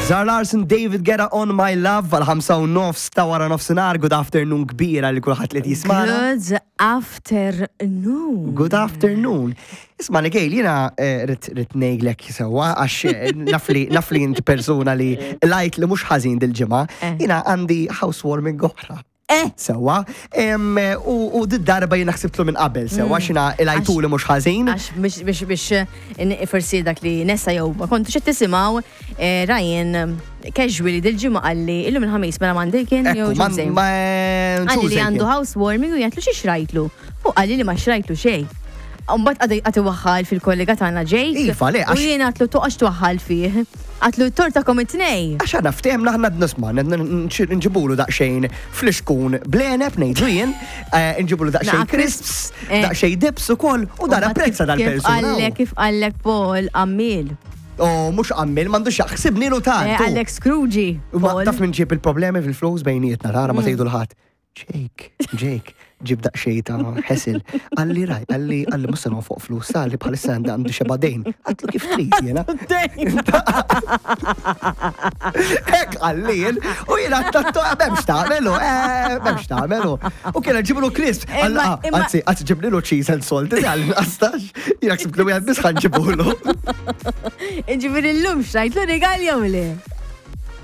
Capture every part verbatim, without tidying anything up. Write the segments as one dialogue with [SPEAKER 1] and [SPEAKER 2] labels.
[SPEAKER 1] Zara Larsson, David Guetta, On My Love, għal ħamsa u nofs ta' wara nofsinhar, good afternoon kbira li kulħadd li jismana.
[SPEAKER 2] Good afternoon.
[SPEAKER 1] Good afternoon. Isma' Gail, jiena eh, rrid rrid ngħidlek sewwa għax eh, naf li naf li inti persuna li lajt li mhux ħażin dil-ġimgħa,
[SPEAKER 2] Eh.
[SPEAKER 1] jiena għandi housewarming oħra.
[SPEAKER 2] Eh.
[SPEAKER 1] Sewwa, Em, u u did-darba jiena ħsibtlu minn qabel, sewwa xina il-għajtu li mhux ħażin.
[SPEAKER 2] Għax biex biex biex in- forsi dak li nesa jew ma kontu xed tisimgħu eh, Ryan casually dil-ġimgħa qalli illum il-ħamis mela Monday kien jew
[SPEAKER 1] Ekku, ma
[SPEAKER 2] Tuesday.
[SPEAKER 1] ma
[SPEAKER 2] Qalli li
[SPEAKER 1] Tuesday
[SPEAKER 2] għandu
[SPEAKER 1] kien.
[SPEAKER 2] housewarming u jgħidlu xi xrajtlu. U qalli li ma xrajtlu xejn. Mbagħad għad għad iwaħħal fil-kollega tagħna Jake.
[SPEAKER 1] Iva, le,
[SPEAKER 2] U
[SPEAKER 1] għax-
[SPEAKER 2] jien għatlu toqgħodx twaħħal fih. Għatlu t-torta kom it-tnej.
[SPEAKER 1] Għax għana ftehemna ħna nisma, nġibulu daqxejn flixkun bl-għeneb, ngħidu jien, eh, nġibulu daqxejn
[SPEAKER 2] Naqa
[SPEAKER 1] crisps,
[SPEAKER 2] crisps, eh.
[SPEAKER 1] daqxejn dips u koll, u dan
[SPEAKER 2] Mbagħad
[SPEAKER 1] apprezza
[SPEAKER 2] kif- Kif
[SPEAKER 1] dal-persuna.
[SPEAKER 2] qallek, kif qallek Paul għammil.
[SPEAKER 1] Oh, mux għammil, mandu xaħsibni lu
[SPEAKER 2] Eh,
[SPEAKER 1] tant.
[SPEAKER 2] Għallek Scrooge.
[SPEAKER 1] Ma
[SPEAKER 2] Paul.
[SPEAKER 1] taf minn ġib il-problemi fil-flus bejnietna, tara
[SPEAKER 2] Mm.
[SPEAKER 1] ma tgħidu l-ħadd. Jake, Jake, ġib daqxej ta' ħesil. Għalli raj, għalli, għalli musa fuq flus, għalli bħalissa għandi għandu xeba dejn. Għatlu kif trid jena. Hekk għalli jien, u jena għattattu, memx tagħmelu, eh, memx tagħmelu. U kiena ġiblu crisp.
[SPEAKER 2] Imma- imma-
[SPEAKER 1] Għazzi, għazzi ġiblu cheese and salt, għalli għastax. Jena ksibtlu għad bis ħanġibulu.
[SPEAKER 2] Ġifieri llum xrajtlu rigal jew le?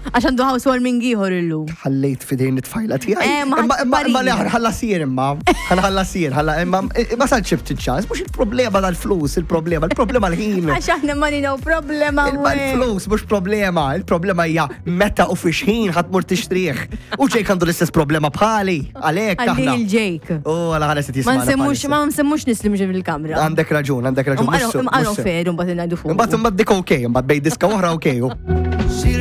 [SPEAKER 2] Għax għandu housewarming ieħor illum.
[SPEAKER 1] Ħallejt fidejn it-tfajla tiegħi.
[SPEAKER 2] Eh, ma
[SPEAKER 1] Imma imma imma li
[SPEAKER 2] ħadd
[SPEAKER 1] ħalla sir imma. Ħalla sir, ħalla imma ma sal ċibt ċans, mhux il-problema tal-flus, il-problema, il-problema l-ħin.
[SPEAKER 2] Għax aħna ma ninaw problema.
[SPEAKER 1] Imma l-flus mhux problema, il-problema hija meta u fix ħin ħadd mur tixtrih. U Jake għandu l-istess problema bħali, għalhekk
[SPEAKER 2] Għalli
[SPEAKER 1] aħna.
[SPEAKER 2] il-Jake.
[SPEAKER 1] U għala ħares
[SPEAKER 2] Ma
[SPEAKER 1] jismana
[SPEAKER 2] nsemmux,
[SPEAKER 1] bħalissa.
[SPEAKER 2] ma nsemmux nislim ġi fil-kamra.
[SPEAKER 1] Għandek raġun, għandek raġun. mhux sew,
[SPEAKER 2] Imqaru
[SPEAKER 1] mhux sew.
[SPEAKER 2] fer, mbagħad ngħidu fuq.
[SPEAKER 1] Imbagħad imbagħad dik okej, imbagħad bej diska oħra okej.